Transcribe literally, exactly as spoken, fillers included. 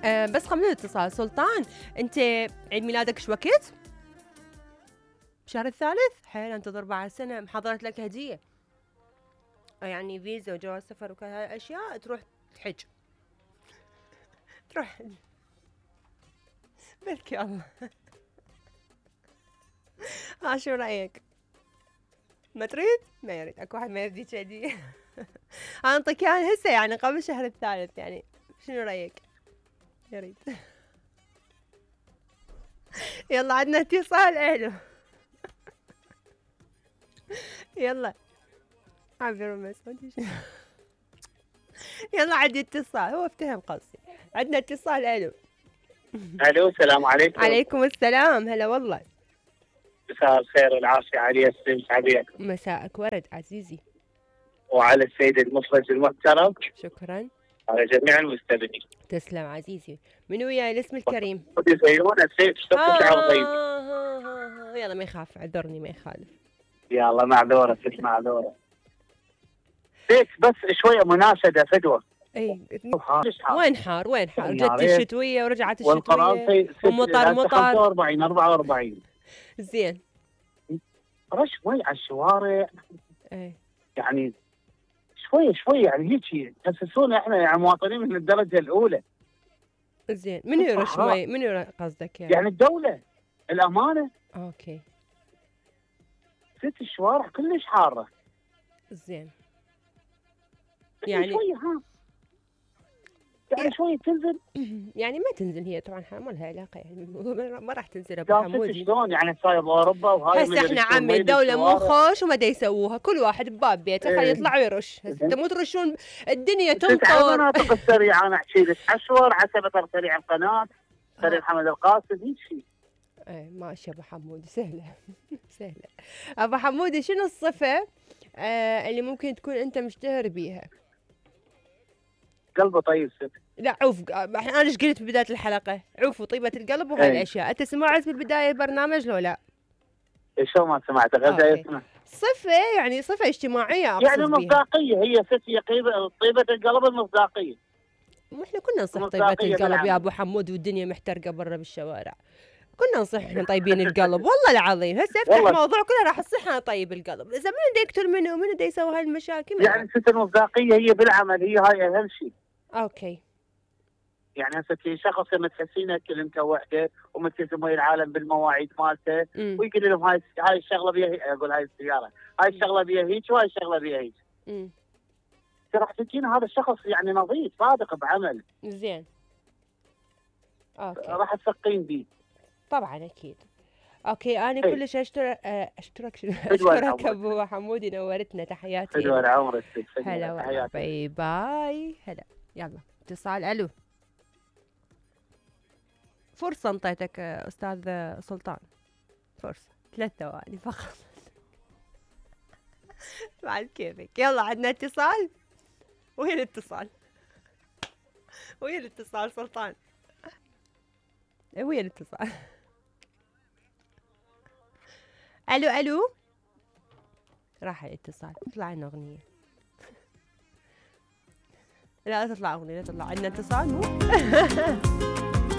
أه بس قبل الاتصال سلطان، انت عيد ميلادك شو وقت؟ بشهر الثالث؟ حيل انتظر بعد سنة، محضرت لك هدية يعني فيزا وجواز سفر وكل هاي الاشياء، تروح تحج تروح بلكي الله. ها شو رأيك؟ ما تريد؟ ما يريد، اكو واحد ما يريد هدية. انا انطيك اياها هسه يعني قبل الشهر الثالث يعني، شنو رأيك؟ يريد. يلا عندنا اتصال. الو. يلا عبر مسعود. يلا عندي اتصال، هو افتهم قصدي. عندنا اتصال. الو. الو السلام عليكم. عليكم السلام، هلا والله. مساء الخير والعافيه علي السيد عبيك. مساءك ورد عزيزي. وعلى السيد المخرج المحترم. شكرا. على جميع المستمعين. تسلم عزيزي. من وياي الاسم الكريم؟ يزينون السيد شلون تشعر طيب؟ يلا ما يخاف، عذرني ما يخالف. يلا معذوره ست معذوره. بيت بس شويه مناشده فدوه. اي وين حار وين حار؟ جت الشتويه ورجعت الشتويه والقرار ومطر مطر. خمسة وأربعين أربعة وأربعين. زين. رش مي على الشوارع. اي يعني شويه شويه يعني هيك تحسسونا احنا يعني مواطنين من الدرجه الاولى. زين، من يرش مي؟ من يرش قصدك يعني؟ يعني الدوله الامانه. اوكي. ست الشوارع كلش حاره. زين. يعني شويه ها يعني شويه تنزل. يعني ما تنزل هي طبعا، ما لها علاقه يعني، ما راح تنزل ابو حمودي. شلون يعني صاير باوروبا وهاي هسه احنا عمي الدوله مو خوش وما دا يسووها، كل واحد بباب بيته خليه يطلع ويرش. هسه انتم مو ترشون الدنيا تمطر. المناطق السريعه انا احكي لك عشور عتبه سريع القناه سريع حمد القاسم هيك شيء. ايه ماشي ابو حمودي، سهله سهله. ابو حمودي شنو الصفه آه اللي ممكن تكون انت مشتهر بيها؟ قلبه طيب ست. لا عوف، انا ايش قلت ببدايه الحلقه؟ عوف وطيبه القلب وهاي الاشياء، انت سمعت بالبدايه البرنامج لو لا؟ شو ما سمعت غدا يسمع. صفه يعني صفه اجتماعيه يعني مصداقيه هي ست، هي طيبه القلب المصداقيه. واحنا كنا نصح طيبه القلب يا ابو حمود والدنيا محترقه برا بالشوارع، كنا نصح احنا طيبين القلب والله العظيم. هسه افتح موضوع كله راح تصح انا طيب القلب، اذا من بده يقتل منه ومن بده يسوي هاي المشاكل يعني ست المصداقيه هي بالعمل، هي هاي اهم شيء. اوكي. يعني هسه في شخص لما تحسينه كلمته وحده وملتزم ويا العالم بالمواعيد مالته ويقول لهم هاي هاي الشغله بيها، اقول هاي السياره هاي الشغله بيها هيك وهاي الشغله بيها هيك. امم راح تجينا هذا الشخص يعني نظيف صادق بعمل. زين. اوكي. راح تثقين بيه. طبعا اكيد. اوكي انا كلش اشترك اشترك اشترك ابو حمودي، نورتنا، تحياتي. حلوه عمرك. هلا باي باي. هلا يلا اتصال. الو. فرصة انطيتك استاذ سلطان، فرصة ثلاث ثواني فقط. بعد كيفك. يلا عندنا اتصال. وين الاتصال؟ وين الاتصال سلطان؟ وين الاتصال؟ الو الو. راح الاتصال. تطلع لنا اغنية. لا لا تطلع اغنية، لا تطلع. عندنا اتصال مو؟